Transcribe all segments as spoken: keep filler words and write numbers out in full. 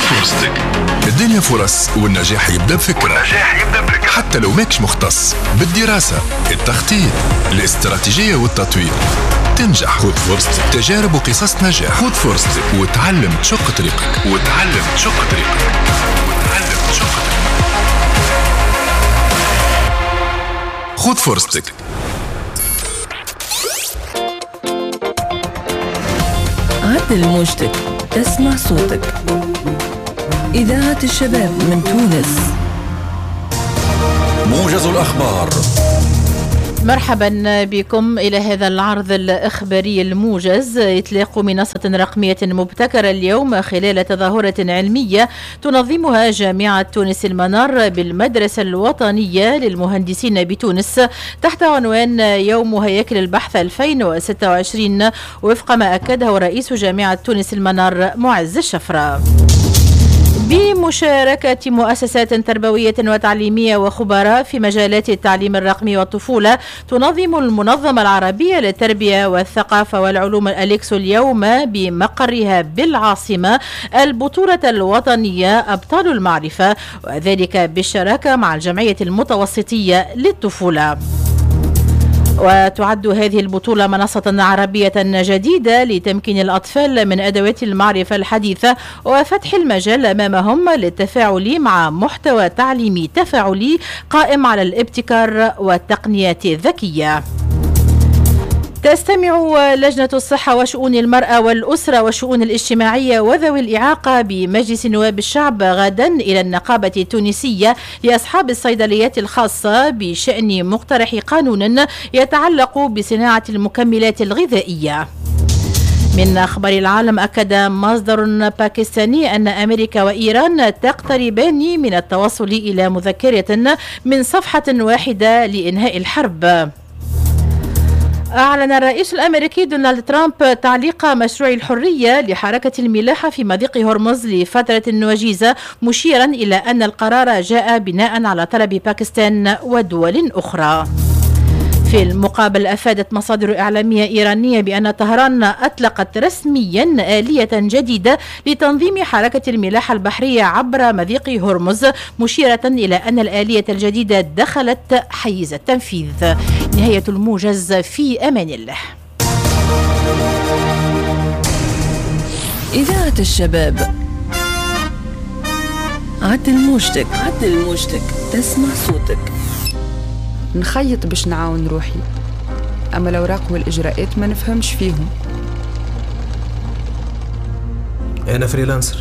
فرصتك. الدنيا فرص والنجاح يبدأ بفكرة. والنجاح يبدأ بفكرة. حتى لو ماكش مختص بالدراسة، التخطيط، الاستراتيجية والتطوير تنجح. خذ فرصتك. تجارب وقصص نجاح. خذ فرصتك وتعلم تشق طريقك. وتعلم تشق طريقك. وتعلم تشق طريقك. خذ فرصتك. عدل موجتك تسمع صوتك. إذاعة الشباب من تونس. موجز الأخبار. مرحبا بكم إلى هذا العرض الإخباري الموجز. إطلاق منصة رقمية مبتكرة اليوم خلال تظاهرة علمية تنظمها جامعة تونس المنار بالمدرسة الوطنية للمهندسين بتونس تحت عنوان يوم هياكل البحث ألفين وستة وعشرين، وفق ما أكده رئيس جامعة تونس المنار معز الشفرة. بمشاركة مؤسسات تربوية وتعليمية وخبراء في مجالات التعليم الرقمي والطفولة، تنظم المنظمة العربية للتربية والثقافة والعلوم الأليكسو اليوم بمقرها بالعاصمة البطولة الوطنية أبطال المعرفة، وذلك بالشراكة مع الجمعية المتوسطية للطفولة. وتعد هذه البطولة منصة عربية جديدة لتمكين الأطفال من أدوات المعرفة الحديثة وفتح المجال أمامهم للتفاعل مع محتوى تعليمي تفاعلي قائم على الابتكار والتقنيات الذكية. تستمع لجنة الصحة وشؤون المرأة والأسرة والشؤون الاجتماعية وذوي الإعاقة بمجلس نواب الشعب غدا إلى النقابة التونسية لأصحاب الصيدليات الخاصة بشأن مقترح قانون يتعلق بصناعة المكملات الغذائية. من أخبار العالم، أكد مصدر باكستاني أن أمريكا وإيران تقتربان من التوصل إلى مذكرة من صفحة واحدة لإنهاء الحرب. أعلن الرئيس الأمريكي دونالد ترامب تعليق مشروع الحرية لحركة الملاحة في مضيق هرمز لفترة وجيزة، مشيرا إلى أن القرار جاء بناء على طلب باكستان ودول أخرى. في المقابل، أفادت مصادر إعلامية إيرانية بأن طهران أطلقت رسميا آلية جديدة لتنظيم حركة الملاحة البحرية عبر مضيق هرمز، مشيرة إلى أن الآلية الجديدة دخلت حيز التنفيذ. نهاية الموجز، في أمان الله. إذاعة الشباب. عدل موجتك. عدل موجتك تسمع صوتك. نخيط باش نعاون روحي، أما الأوراق والإجراءات ما نفهمش فيهم. أنا freelancer،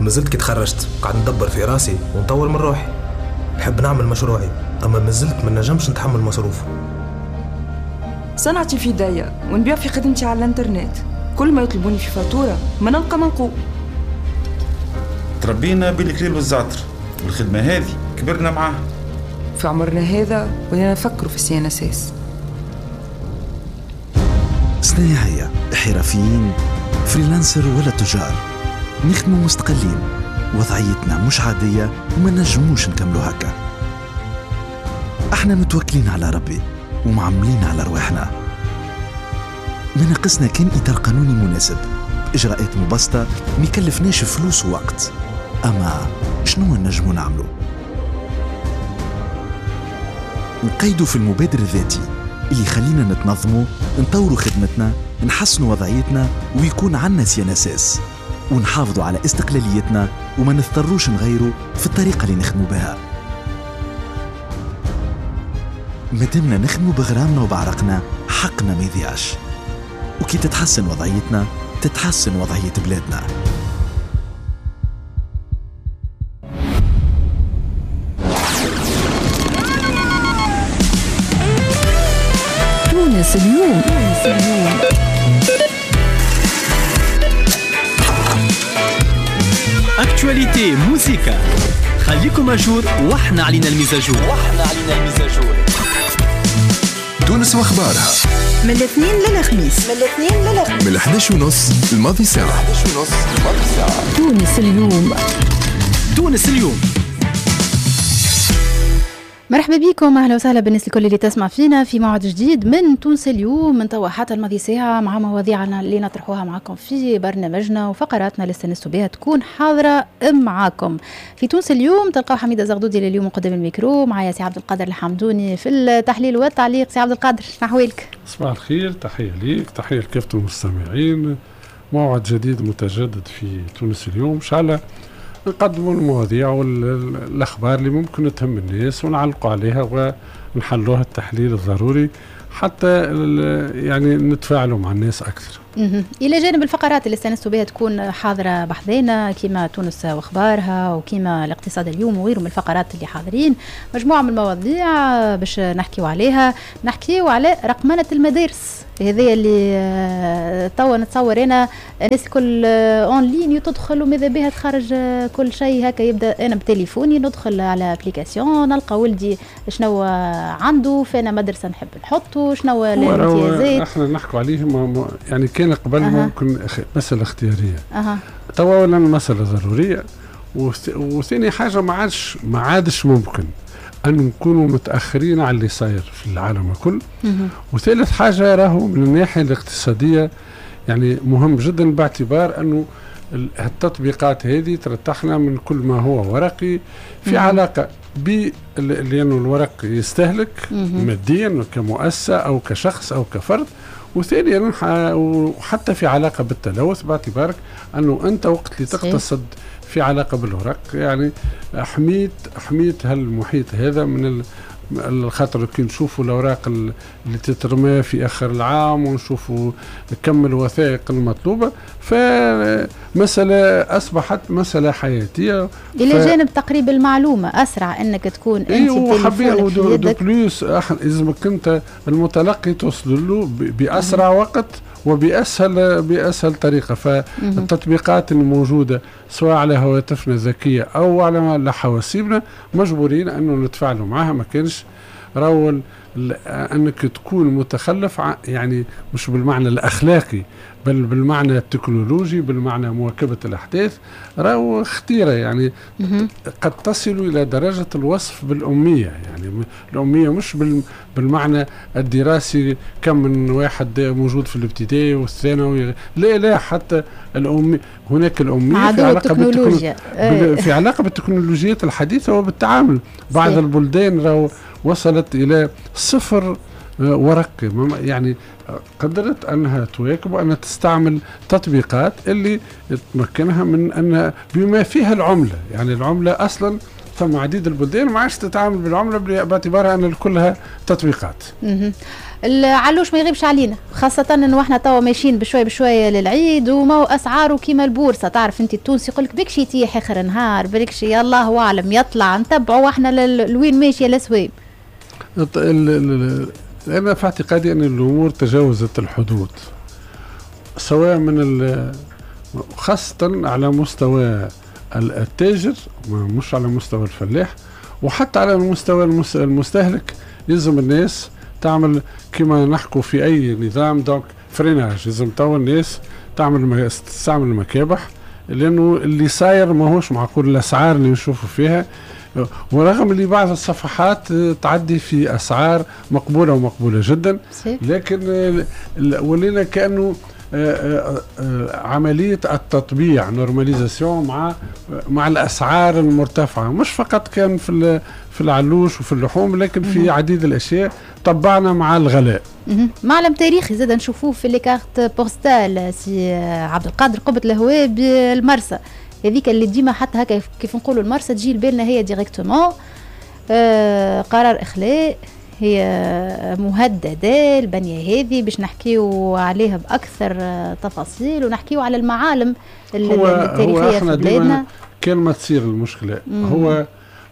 مازلت كي تخرجت قاعد ندبر في راسي ونطور من روحي. نحب نعمل مشروعي، أما مازلت ما نجمش نتحمل مصروفه. صنعتي في داية ونبيع في خدمتي على الانترنت، كل ما يطلبوني في فاتورة ما نلقى منقول. تربينا بالكليل والزعتر، والخدمة هذه كبرنا معاها. في عمرنا هذا ولينا نفكروا في ال CNSS. صنايعية، حرفيين، freelancer ولا تجار، نخدموا مستقلين، وضعيتنا مش عادية وما نجموش نكملوا هكا. احنا متوكلين على ربي ومعملين على رواحنا. ما ناقصنا كان إطار قانوني مناسب، إجراءات مبسطة ما يكلفناش فلوس ووقت. أما شنو نجمو نعملو؟ نقيدوا في المبادر الذاتي اللي يخلينا نتنظموا، نطوروا خدمتنا، نحسنوا وضعيتنا ويكون عنا CNSS، ونحافظوا على استقلاليتنا وما نضطروش نغيروا في الطريقة اللي نخدموا بها. مادامنا نخدموا بغرامنا وبعرقنا حقنا ما يضيعش، وكي تتحسن وضعيتنا تتحسن وضعية بلادنا. تونس اليوم. تونس اليوم. actualité موسيقى، خليكم à jour واحنا علينا ال mise à jour. واحنا علينا ال mise à jour. تونس واخبارها من الاثنين للخميس. من الاثنين للخميس من الحداش ونص الماضي ساعة. تونس اليوم. تونس اليوم. مرحبا بكم، اهلا وسهلا بالناس الكل اللي تسمع فينا في موعد جديد من تونس اليوم، من توا حتى الماضي ساعة مع مواضيعنا اللي نطرحوها معكم في برنامجنا وفقراتنا اللي استنستوا بها تكون حاضره معاكم. في تونس اليوم تلقاو حميده زغدودي اليوم قدام الميكرو، معايا سي عبد القادر الحمدوني في التحليل والتعليق. سي عبد القادر، شنو احوالك؟ صباح الخير، تحية ليك، تحية لكافة المستمعين. موعد جديد متجدد في تونس اليوم، ان شاء الله نقدموا المواضيع والاخبار اللي ممكن تهم الناس ونعلقوا عليها ونحلوها التحليل الضروري حتى يعني نتفاعلوا مع الناس اكثر. الى جانب الفقرات اللي استانستوا بها تكون حاضره بحذانا كما تونس واخبارها وكما الاقتصاد اليوم وغيره من الفقرات اللي حاضرين، مجموعة من المواضيع باش نحكيو عليها. نحكيو على رقمنه المدارس، هذا اللي توا نتصور انا الناس الكل en ligne تدخل وماذا بها تخرج كل شيء هكا، يبدا انا بتليفوني ندخل على application نلقى ولدي شنو عنده، فانا مدرسه نحب نحطه، شنو الامتيازات. احنا نحكوا عليه يعني كان قبل أه. ممكن مسألة اختيارية، أه. توا ولا مسألة ضرورية. وثاني حاجة ما عادش ما عادش ممكن أن نكونوا متأخرين على اللي صاير في العالم الكل. وثالث حاجة راهو من الناحية الاقتصادية يعني مهم جدا، باعتبار أنه التطبيقات هذه ترتاحنا من كل ما هو ورقي في مم. علاقة ب لأنه الورق يستهلك مم. ماديا كمؤسسة أو كشخص أو كفرد، وثانيا وحتى في علاقة بالتلوث، باعتبارك أنه أنت وقت اللي تقتصد في علاقة بالورق يعني حميت حميت هالمحيط هذا من الخطر. كي نشوفوا الأوراق اللي تترمى في آخر العام ونشوفوا كم الوثائق المطلوبة، فمسألة أصبحت مسألة حياتية. إلى ف... جانب تقريب المعلومة أسرع أنك تكون أنت بتليفونك في يدك. de plus لازمك أنت المتلقي توصل له بأسرع وقت وبأسهل بأسهل طريقة. فالتطبيقات الموجودة سواء على هواتفنا الذكية أو على حواسيبنا مجبورين أنه نتفاعلوا معها. ما كانش راهو أنك تكون متخلف، يعني مش بالمعنى الأخلاقي بل بالمعنى التكنولوجي، بالمعنى مواكبة الأحداث، راهو خطيرة يعني قد تصل إلى درجة الوصف بالأمية. يعني الأمية مش بالمعنى الدراسي كم من واحد موجود في الابتدائي والثانوي، لا لا، حتى الأمية هناك الأمية في علاقة بالتكنولوجيا، في علاقة بالتكنولوجيات الحديثة وبالتعامل. بعض البلدان راهو وصلت إلى صفر ورقي، يعني قدرت أنها تواكب وأنها تستعمل تطبيقات اللي تمكنها من أن بما فيها العملة. يعني العملة أصلا ثم عديد البلدان ما عادش تتعامل بالعملة باعتبارها أن كلها تطبيقات. العلوش ما يغيبش علينا، خاصة انه احنا توا ماشيين بشوي بشوي للعيد، وما هو اسعاره كيما البورصة. تعرف انت التونسي يقول لك بكشي يتيح اخر نهار، بالكشي الله اعلم يطلع، نتبعوا احنا لوين ماشية الاسواق. أنا في اعتقادي أن الأمور تجاوزت الحدود، سواء من خاصة على مستوى التاجر، مش على مستوى الفلاح، وحتى على المستوى المستهلك. لازم الناس تعمل كما نحكوا في أي نظام donc freinage، لازم تو الناس تعمل تستعمل المكابح، لأنه اللي صاير ماهوش معقول الأسعار اللي نشوفوا فيها. ورغم اللي بعض الصفحات تعدي في أسعار مقبولة ومقبولة جدا، لكن ولينا كأنه عملية التطبيع normalisation مع مع الأسعار المرتفعة، مش فقط كان في في العلوش وفي اللحوم، لكن في عديد الأشياء طبعنا مع الغلاء. معلم تاريخي زاد نشوفوه في les cartes postales سي عبد القادر، قبة الهواء بالمرسى هذيك اللي ديما حتى هكا كيف نقولوا المرسى تجي لبالنا هي directement. آه قرار اخلاء، هي مهددة البنية هذه باش نحكيو عليها باكثر تفاصيل، ونحكيو على المعالم التاريخية في بلادنا. كان ما تصير المشكلة مم. هو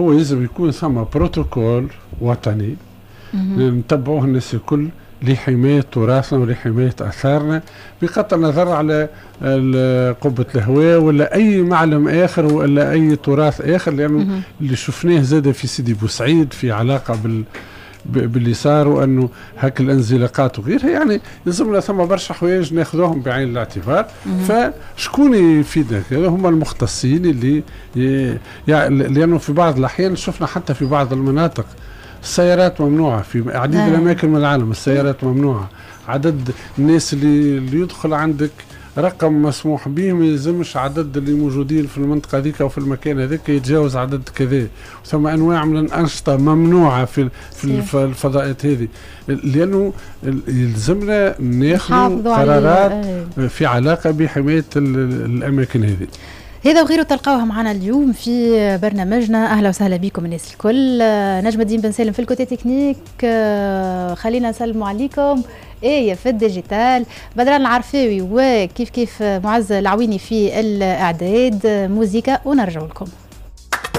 هو لازم يكون ثم بروتوكول وطني نتبعوه الناس الكل لحماية تراثنا ولحماية آثارنا، بغض النظر على قبة الهواء ولا أي معلم آخر ولا أي تراث آخر، لأنه اللي شفناه زاد في سيدي بوسعيد في علاقة بال باللي صار، وأنه هاك الانزلاقات وغيرها، يعني لازمنا ثم برشا حوايج ناخذوهم بعين الاعتبار. فشكون يفيدنا؟ هما المختصين اللي يعني، لأنه في بعض الأحيان شفنا حتى في بعض المناطق السيارات ممنوعة في عديد آه. الاماكن من العالم، السيارات ممنوعة، عدد الناس اللي, اللي يدخل عندك رقم مسموح به، ما يلزمش عدد اللي موجودين في المنطقة هذيك او في المكان هذاك يتجاوز عدد كذا. ثم انواع من الانشطة ممنوعة في في الفضاءات هذه، لانه يلزمنا ناخذ قرارات في علاقة بحمايه الاماكن هذه. هذا وغيره تلقاوها معنا اليوم في برنامجنا. اهلا وسهلا بكم الناس الكل. نجم الدين بن سالم في ال côté technique، خلينا نسلموا عليكم ايه في ال digital، بدران العرفاوي وكيف كيف معز العويني في الاعداد. موزيكا ونرجع لكم.